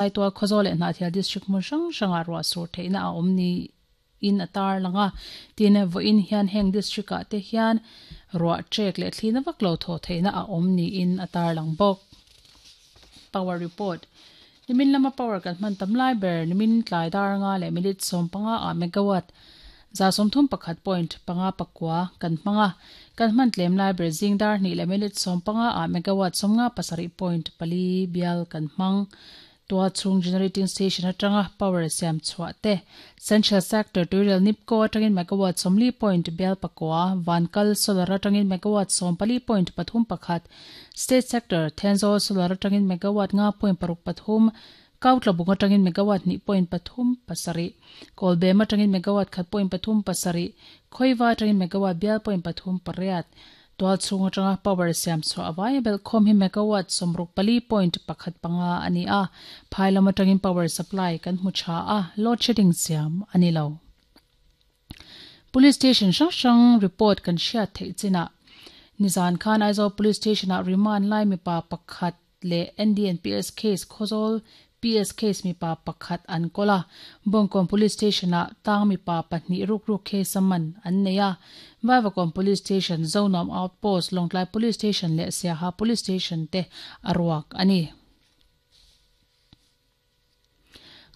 Saitual Khawzawl leh Hnahthial District hmun hrang hrangah ruah sur theihna a awm niin a tarlang a. Tin, vawiin hian heng district ah te hian ruah trek leh thlina vak lo thawh theihna a awm niin a tarlang bawk. Power Report, Nimin lama power kan hman tam lai ber nimin tlai dar nga leh minute 15 ah megawatt 31.59 kan hmang a, kan hman tlem lai ber zing dar hnih leh minute 15 ah megawatt 57.4 bial kan hmang. Tua chhung generating station atanga power siam chhuah te, Central Sector tuirel NEEPCO atangin megawatt 40 point bial pakua, Vankal Solar atangin megawatt 14.31, State Sector Thenzawl Solar atangin megawatt 5.63, Kautlabung atangin megawatt 2.37, Kawlbem atangin megawatt 1.37, Khawiva atangin megawatt bial point 38, Tual chhung atanga power siam chhuah a vaia belh khawm hi megawatt 64.15 a ni a, phai lam atangin power supply kan hmu tha a, load shedding siam a ni lo. Police station hrang hrang report kan hriat theih chinah nizan khan Aizawl Police Station ah remand lai mipa pakhat leh NDNPS case Khawzawl PS case mipa pakhat an kawl a, Bawngkawn Police Station ah tang mipa pahnih rukruk case a man an nei a, Vaivakawn Police Station, Zonuam Outpost, Lawngtlai Police Station leh Siaha Police Station te a ruak a ni.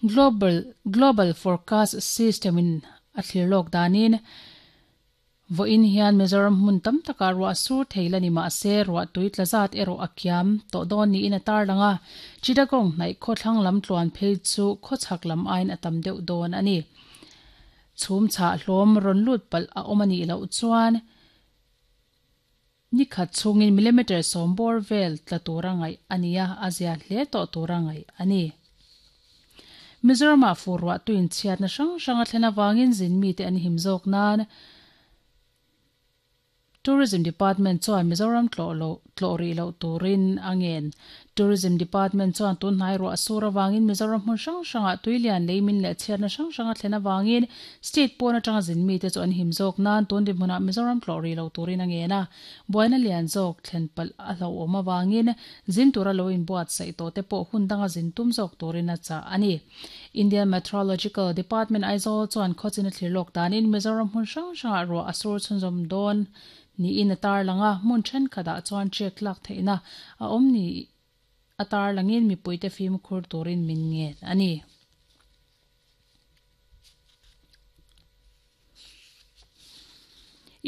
Global Global Forecast System in a thlir lawk danin Vawiin hian Mizoram hmun tam takah ruah sur thei la ni mah se ruah tui tla zat erawh a kiam tawh dawn niin a tarlang a, Chittagong hnaih khawthlang lam tluan phei chu khawchhak lam aiin a tam deuh dawn a ni. Chhum chhah hlawm rawn lut palh a awm a nih loh chuan ni khat chhungin millimeter 10 bawr vel tla tura ngaih a ni a, a zia hle tawh tura ngaih a ni. Mizoramah fur ruah tuin chhiatna hrang hrang a thlen avangin zin mite an him zawk nan Tourism Department chuan Mizoram tlawh loh tlawh rih loh turin a ngen. Tourism Department chuan tunhnai ruah sur avangin Mizoram hmun hrang hrangah tuilian leimin leh chhiatna hrang hrang a thlen avangin state pawn atanga zin mite chu an him zawk nan tun dinhmunah Mizoram tlawh rih loh turin a ngen a. Buaina lian zawk thlen palh a hlauhawm avangin zin tura lo inbuatsaih tawh te pawh hun danga zin tum zawk turin a chah a ni. Indian Meteorological Department Aizawl chuan khawchin a thlir lawk danin Mizoram hmun hrang hrangah ruah a sur chhunzawm dawn niin a tarlang a, hmun thenkhatah chuan check lak theihna a awm ni a tarlangin mipuite fimkhur turin min ngen a ni.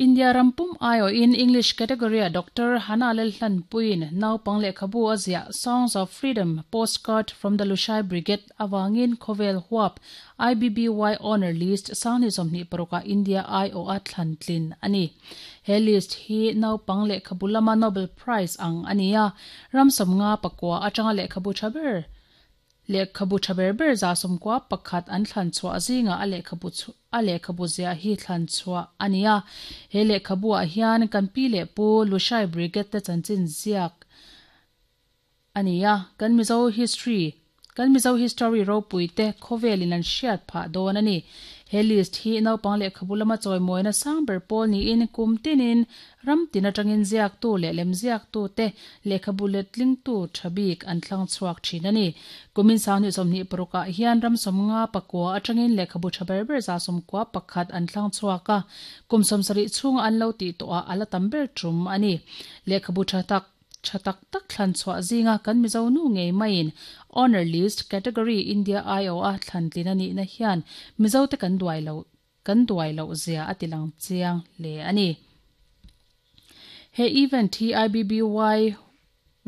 India ram pum aiawhin English category-ah Doctor Hannah Lalhlanpuiin naupang lehkhabu a ziah Songs of Freedom, Postcard from the Lushai Brigade avangin khawvel huap IBBY Honour List 2026-ah India aiawha thlan tlin a ni. He list hi naupang lehkhabu lama Nobel Prize ang a ni a, ram 59 atanga lehkhabu tha ber Lehkhabu tha ber ber 91 an thlan chhuah zingah a lehkhabu chu a lehkhabu ziah hi thlan chhuah a ni a. He lehkhabu ah hian kan pi leh pu Lushai Brigade te chanchin ziak a ni a, kan Mizo history kan Mizo history ropui te khawvelin an hriat phah dawn a ni. He list hi naupang lehkhabu lama chawimawina sang ber pawl niin kum tinin Ram tin atangin ziaktu leh lemziaktu te lehkhabu letlingtu tha bik an thlang chhuak thin a ni. Kumin 2026 ah hian ram 59 atangin lehkhabu tha ber ber 91 an thlang chhuak a, kum 70 chhunga an lo tih tawhah a la tam ber tum a ni. Lehkhabu tha tak tha tak tak thlan chhuah zinga kan Mizo nu ngei maiin Honour List Category India aiawha thlan tlin a nihna hian Mizote kan duai lo Kan duai loh zia a tilang chiang hle a ni. He event hi IBBY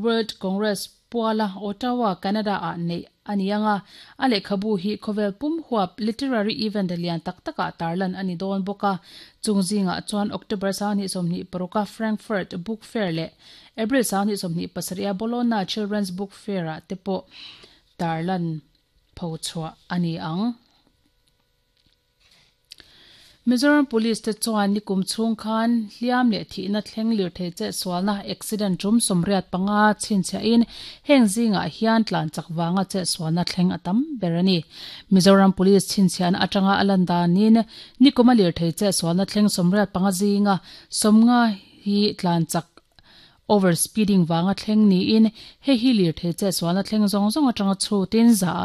World Congress puala Ottawa, Canada ah neih a ni ang a, a lehkhabu hi khawvel pum huap literary event lian tak takah tarlan a ni dawn bawk a. Chung zingah chuan October 2026 a Frankfurt Book Fair leh April 2027 a Bologna Children's Book Fair ah te pawh tarlan phochhuah a ni ang. Mizoram Police te chuan nikum chhung khan hliam leh thihna thleng lirthei chetsualna accident tum 85 chhinchhiahin heng zingah hian tlan chak vanga chetsualna thleng a tam ber a ni. Mizoram Police chhinchhiahna atanga a lan danin nikuma lirthei chetsualna thleng 85 zinga 50 hi tlan chak. Over speeding vanga thleng niin hei hi lirthei chetsualna thleng zawng zawng atanga chhutin za ah